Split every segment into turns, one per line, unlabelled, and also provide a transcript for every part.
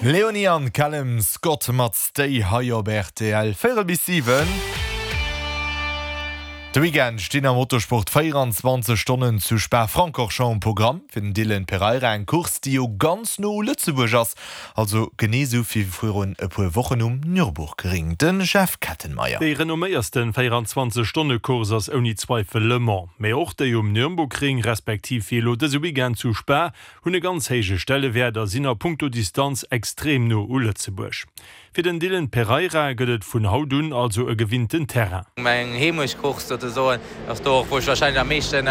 Leonie an Callum Scott mat Stay hei op rtl. Véierel bis 7. De Weekend stinn am Motorsport 24 Stonnen zu Spa-Francorchamps um Programm. Fir den Dylan Pereira eng Course, déi jo ganz no u Lëtzebuerg ass, also genee sou wéi virun e puer Wochen um Nürburgring. De Jeff Kettenmeyer.
Déi renomméiersten 24 Stonne Course ass ouni Zweifel Le Mans. Mee och déi um Nürnburgring, respektiv wéi elo dëse Weekend zu Spa, hunn e ganz héije Stellewäert a sinn a punkto Distanz extrem no u Lëtzebuerg. Fir den Dylan Pereira gëtt et vun haut un also e gewinnten Terrain.
Meng Heemechtcourse souzesoen ass do och wou ech warscheinlech am meeschten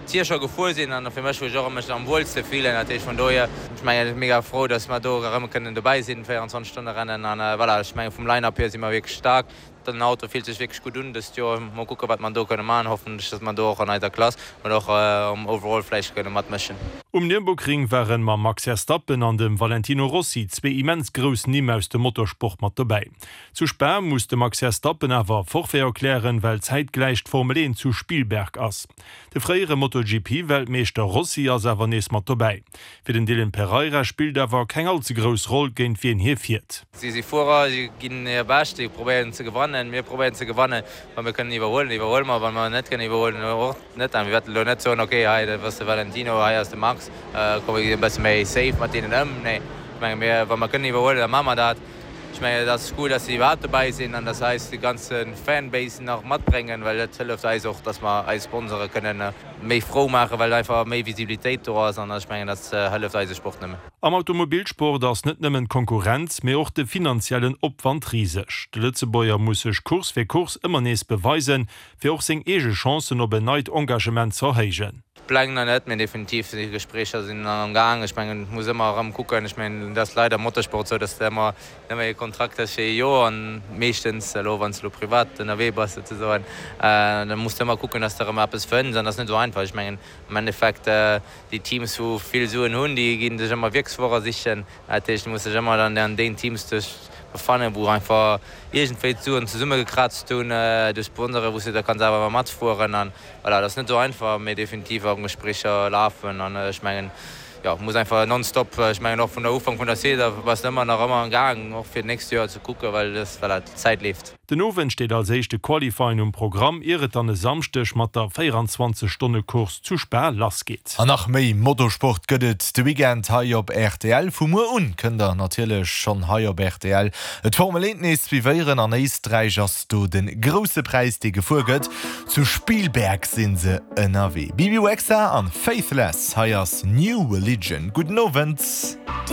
Tier scho gefuer sinn an fir mech wou ech och mech am wuelste fillen. Dat heescht vun dohier, ech mengen ech si mega frou, datt mer do erëm kënnen dobäi sinn, 24 Stonne Rennen an voilà, ech mengen vum Line-Up hier si mer wierklech staark. Den Auto fillt sech wierklech gutt un dëst Joer. Mol kucken, wat mer do kënne maachen. Hoffentlech, datt mer do och an eiser Klass oder och um Overall vläicht kënne matmëschen.
Um Nürburgring waren mam Max Verstappen an dem Valentino Rossi zwee immens grouss Nimm aus dem Motorsport mat dobäi. Zu Spa muss de Max Verstappen awer Forfait erklären, well zäitgläich d'Formel 1 zu Spielberg ass. De fréiere MotoGP-Weltmeeschter Rossi ass awer nees mat dobäi. Fir den Dylan Pereira spillt awer keng all ze grouss Roll, géint wien hie fiert.
Si si Fuerer, si ginn hir Bescht, si probéieren ze gewannen. Mir probéieren ze gewannen. Wa mir kënnen iwwerhuelen, iwwerhuele mer. Wa mer net kënnen iwwerhuelen, och net. A mir wäerten elo net soen, ok, hei dat ass de Valentino, hei ass de Max, komm mir ginn e bësse méi safe mat deenen ëm. Nee, ech menge mir, wa mer kënnen iwwerhuelen, da maache mer dat. Ech mengen, et ass gutt, dass si iwwerhaapt dobäi sinn an dass se eis de ganze Fanbase nach matbréngen, well dat hëlleft eis och, dass mer eis Sponsore kënnen méi frou maachen, well einfach méi Visibilitéit do ass an ech mengen, dat hëlleft eise Sport nëmmen.
Am Automobilsport ass net nëmmen d'Konkurrenz, mee och de finanziellen Opwand riseg. De Lëtzebuerger muss sech Course fir Course ëmmer nees beweisen, fir och seng eege Chancen op en neit Engagement z'erhéijen.
D'Pläng nach net, mee definitiv déi Gespréicher sinn am Gaang. Ech mengen, et muss ëmmer erëm kucken. Ech mengen, et ass leider am Motorsport esou, dass de ëmmer nëmme ee Kontrakt hues fir ee Joer an meeschtens elo, wann s de elo privat ënnerwee bass souzesoen, da muss de ëmmer kucken, dass de erëm eppes fënns an dat ass net esou einfach. Ech mengen, am Endeffekt, déi Teams, wou vill Suen hunn, déi gi sech ëmmer Wierksfuerer sichen. Dat heescht, du muss dech ëmmer dann an deenen Teams dech befannen, wou einfach iergendwéi d'Suen zesummegekraazt hunn duerch Sponsoren, wou s de da kanns awer matfueren. An Voilà, dat ass net esou einfach, mee definitiv am Gespréicher lafen an ech mengen, jo, muss einfach nonstop, ech mengen och vun der Ufank vun der Saison bass de ëmmer nach ëmmer am Gaang och fir d'nächst Joer ze kucken, well das, voilà, d'Zäit leeft.
Den Owend steet als éischt de Qualifying um Programm, ier et dann e Samschdeg mat der 24 Stonne Course zu Spa lass geet.
An nach méi Motosport gëtt et de Weekend hei op rtl. Vu muer un kënnt der natierlech schonn hei op rtl d'Formel 1 nees suivéieren. An Éisträich ass do de grousse Präis dee gefuer gëtt. Zu Spielberg sinn se ënnerwee. Bebe Rexha an Faithless, hei ass New Religion. Gudden Owend.